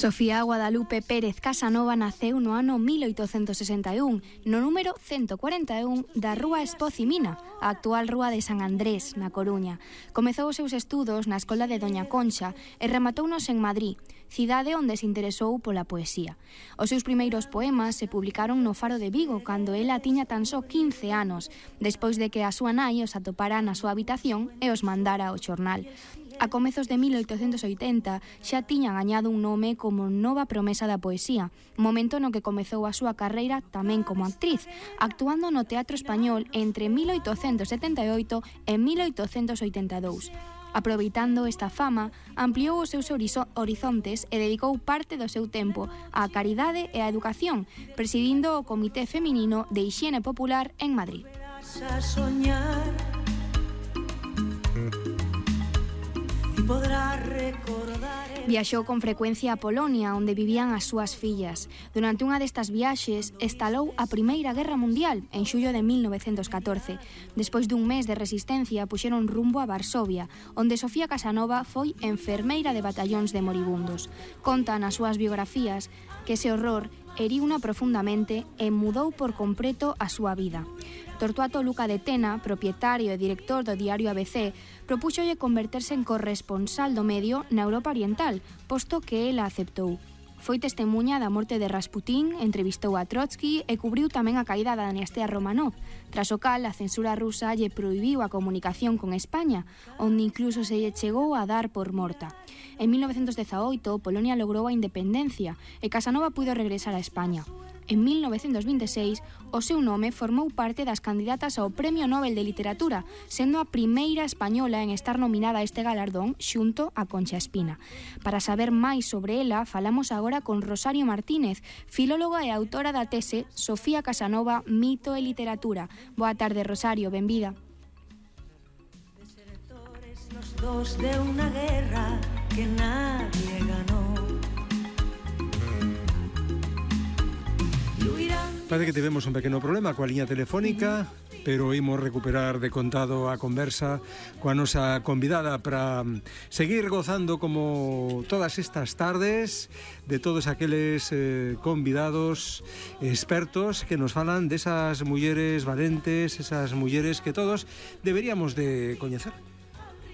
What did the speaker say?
Sofía Guadalupe Pérez Casanova naceu no ano 1861, no número 141 da Rúa Espozimina, a actual Rúa de San Andrés, na Coruña. Comezou os seus estudos na Escola de Doña Concha e rematounos en Madrid, cidade onde se interesou pola poesía. Os seus primeiros poemas se publicaron no Faro de Vigo, cando ela tiña tan só 15 anos, despois de que a súa nai os atopara na súa habitación e os mandara ao xornal. A comezos de 1880 xa tiña gañado un nome como nova promesa da poesía, momento no que comezou a súa carreira tamén como actriz, actuando no Teatro Español entre 1878 e 1882. Aproveitando esta fama, ampliou os seus horizontes e dedicou parte do seu tempo á caridade e á educación, presidindo o Comité Feminino de Hixiene Popular en Madrid. Viaxou con frecuencia a Polonia, onde vivían as súas fillas. Durante unha destas viaxes, estalou a Primeira Guerra Mundial, en xullo de 1914. Despois dun mes de resistencia, puxeron rumbo a Varsovia, onde Sofía Casanova foi enfermeira de batallóns de moribundos. Conta nas súas biografías que ese horror heriuna profundamente e mudou por completo a súa vida. Tortuato Luca de Tena, propietario e director do diario ABC, propúxolle converterse en corresponsal do medio na Europa Oriental, posto que ela aceptou. Foi testemuña da morte de Rasputín, entrevistou a Trotsky e cubriu tamén a caída da dinastía Romanov, tras o cal a censura rusa lle prohibiu a comunicación con España, onde incluso se lle chegou a dar por morta. En 1918, Polonia logrou a independencia e Casanova puido regresar a España. En 1926, o seu nome formou parte das candidatas ao Premio Nobel de Literatura, sendo a primeira española en estar nominada a este galardón xunto a Concha Espina. Para saber máis sobre ela, falamos agora con Rosario Martínez, filóloga e autora da tese Sofía Casanova, mito e literatura. Boa tarde, Rosario, benvida. Desertores los dos de una guerra que nadie ganó. Parece que tivemos un pequeno problema coa liña telefónica, pero imos recuperar de contado a conversa coa nosa convidada para seguir gozando como todas estas tardes de todos aqueles convidados expertos que nos falan desas mulleres valentes, esas mulleres que todos deberíamos de coñecer.